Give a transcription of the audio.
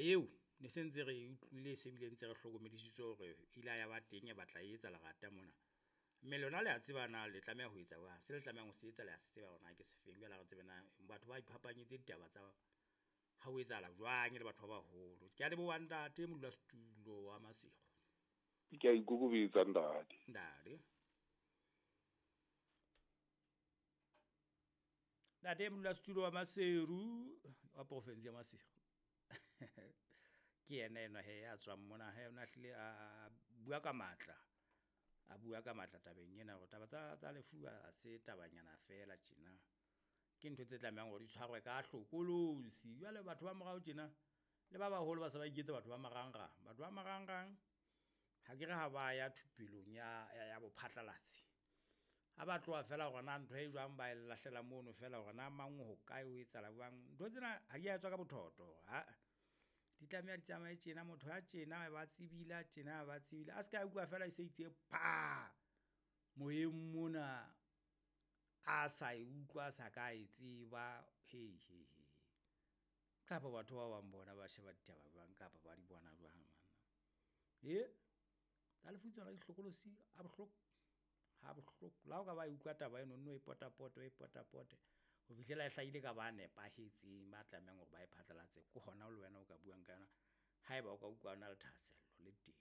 Eo ne se ntse re e utlwile se bile ntse re hlokomedisitswe hore ile ya ba teng e batla e etsa lerata mona. Mme lona le a tseba na le tlameha ho etsa jwang? Se le tlamehang ho se etsa le a se tseba hore na ke sefeng. Jwale ha re tsebe na batho ba iphapanyetse ditaba tsa ha ho etsahala jwang e le batho ba baholo. Ke a leboha ntate modulasetulo wa Maseru. Ke a ikokobetsa ntate. Ntate. Ntate modulasetulo wa Maseru wa province ya Maseru. Ke yena enwa he ya tswang mona he o na hlile a bua ka matla. A bua ka matla tabeng ena hore taba tsa lefu ha se tabanyana feela tjena. Ke ntho tse tlamehang hore di tshwarwe ka hlokolosi. Jwale batho ba morao tjena le ba baholo ba se ba iketsa batho ba marangrang. Batho ba marangrang ha ke re ha ba ya thupelong ya bophatlalatsi. Ha ba tloha feela hore na ntho e jwang ba e lahlela mono feela hore na mang ho kae ho etsahala jwang. Ntho tsena ha di a etswa ka bothoto, aa. Di tlameha di tsamaye tjena, motho a tjena ba tsebile, a tjena ba tsebile. A ska utlwa feela e se itse pha! Moyeng mona a sa e utlwa, a sa ka e tseba he he he. Kapa batho ba bang bona ba sheba ditaba jwang kapa ba di bona jwang banna? Tsa lefu tsona di hlokolosi ha bohloko, ha bohloko. Le ha o ka ba e utlwa taba eno o nno e potapote o e potapote ho fihlela e hlahile ka ba nepahetseng, ba tlamehang hore ba e phatlalatse. Ke hona le wena o ka buang ka yona haeba o ka utlwa o na le thahasello le teng.